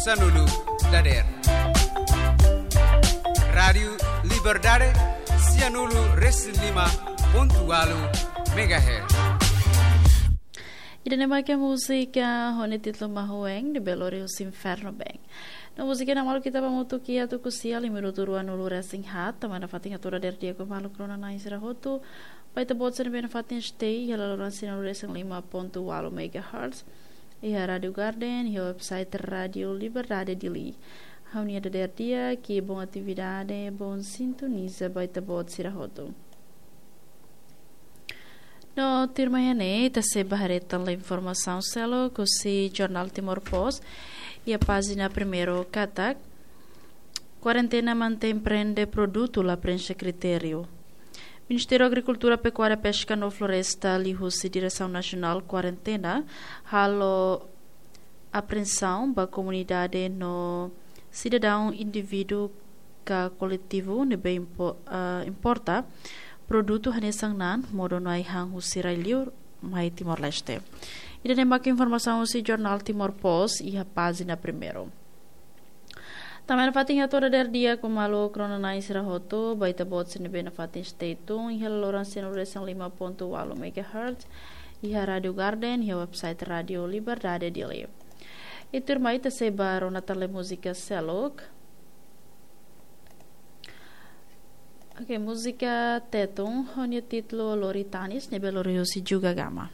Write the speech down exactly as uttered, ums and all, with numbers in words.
Sanulu dader. Rádiu Liberdade, sianulu resin lima pontu walu megahertz. Ida-ne'e mak múzika ho nia títulu Mahueng, ne'ebé lori husi Inferno Band. No múzika ne'e malu ita ba hamutuk iha tuku sia lima minutu ruanulu resin haat, tanba nafatin hato'o dader di'ak ba maluk rona-na'in sira hotu, ba ita-boot sira ne'ebé nafatin stay iha laloran sianulu resin lima pontu walu megahertz, iha Rádiu Garden, iha website Rádiu Liberdade Dili. Ha'u-nia dader di'ak, bom atividade, bom sintoniza ba ita-boot sira hotu. No tuirmai ne'e, ita sei ba haree tan informasaun seluk husi Jornál Timor Post, iha pájina primeiru katak, kuarentena mantein prende produtu la prenxe kritériu. Ministériu Agrikultura, Pekuária, Peska no Floresta liuhusi Diresaun Nasionál Kuarentena halo apreensaun ba komunidade no sidadaun indivíduu ka koletivu ne'ebé impo-, ah, importa produtu hanesan na'an modo no ai-han husi rai-liur mai Timor-Leste. Ida-ne'e mak informasaun husi Jornál Timor Post iha pájina primeiru. Tanba nafatin hato'o dader di'ak ba maluk rona-na'in sira hotu, ba ita-boot sira ne'ebé nafatin stay tune iha laloran sianulu resin lima pontu walu megahertz, iha Rádiu Garden, iha website Rádiu Liberdade Dili. I tuirmai ita sei ba rona tan múzika seluk. Oke, múzika Tetun, ho nia títulu Lori Tanis, ne'ebé lori husi Juga Gama.